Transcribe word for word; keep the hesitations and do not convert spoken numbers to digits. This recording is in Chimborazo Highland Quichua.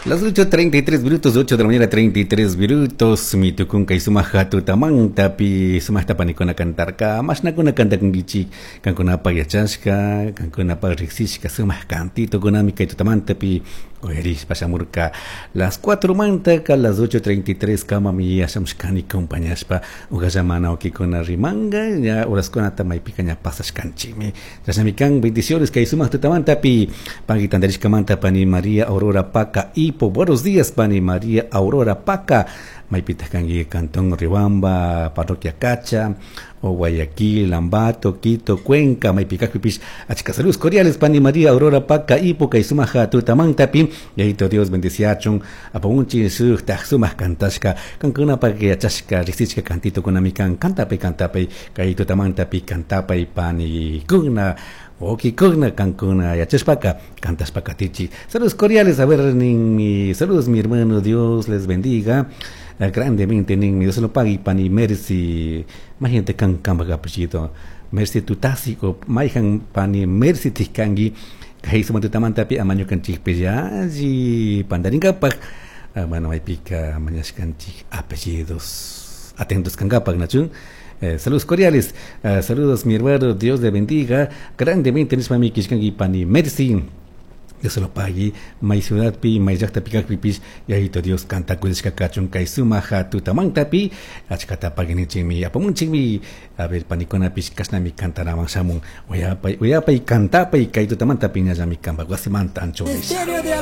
Las ocho treinta y tres minutos, ocho de la mañana treinta y tres minutos, mi tukunka y sumaja tutamantapi, sumajta panikuna cantarka, mashnakuna cantakunkichik, kankunapa yachashka, kankunapa riksishka, sumaj cantito kunami kay tutamantapi, uyarishpa shamurka. Las cuatro mantaka, las ocho treinta y tres kamami yashamushkani compañashpa, ugallamana ukikuna rimanga, ya horaskunata maypika ña pasashkanchikmi. Chashnami kan, bendiciones kay sumaj tutamantapi, pagui tantarishkamanta pani María Aurora Paca Ipo. Buenos días, pani María Aurora Paca. Maypita kanki, Cantón Riobamba, Parroquia Cacha, o Guayaquil, Ambato, Quito, Cuenca, maypikakpipish, achka saludos cordiales, pani María Aurora Paca Ipo, kay sumaja tutamantapi, Yayito Dios bendiciachun, apamunchi sujtaj sumaj kantashka, kankunapa yachashka, riksichka cantito kunami kan, kantapay, kantapay, kay tutamantapi kantapay pani kuna, Oki kuna kankuna yachashpaka, kantashpa katichi. Saludos cordiales, a ver, mi, saludos, mi hermano, Dios les bendiga eh, grandemente, nin, Dios se lo pague, pani Mercy, imagínate kan kamba apellido, Mercy Tutasi, o maijan pani Mercy Tiskangi, kay sumantutamantapi amaño kanchikpi ya, pandarinkapak, ah, bueno, maypika mañashkanchik apellidos, atentos kankapak, nachun. Eh, saludos cordiales, eh, saludos, mi hermano, Dios le bendiga grandemente, nishpami kishkanki pani Mercy. Dios se lo pague, may ciudadpi, may llaqtapi kaqpipish, Yayito Dios kanta kuyashka kachun kay sumaja tutamantapi, achkata paginichikmi, apamunchikmi, a ver, panikunapish kashnami kantanaman shamun, uyapay, uyapay kantapay kay tutamantapi ñallami kanpak wasimanta anchones. Ministerio de